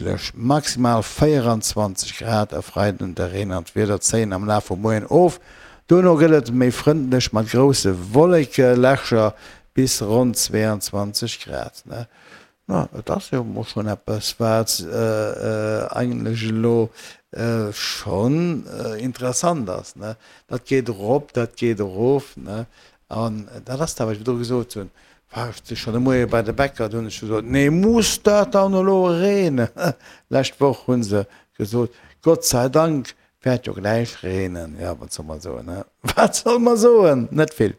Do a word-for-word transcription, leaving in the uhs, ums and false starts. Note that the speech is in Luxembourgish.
Lech maximal véieranzwanzeg Grad. E Freiden de Reen an d'Wieder zéien am Laf vum Moien of, dono gëtt et méi frëndlech mat grousse Wollekelächer bis ronn zweeanzwanzeg Grad. Ma et ass jo mol schonn eppes, wat eigentlech elo schonn interessant ass. Dat geet erop, dat geet erof. An dat ass dat, wat ech virdru gesot hunn. War ech du schonn de Moie bei de Bäcker, do hunn ech gesot, Nee, muss dat dann elo reenen? Lescht Woch hu se gesot, Gott sei Dank wäert jo gläich reenen. Jo, wat soll mer soen, he? Wat soll mer soen? Net vill.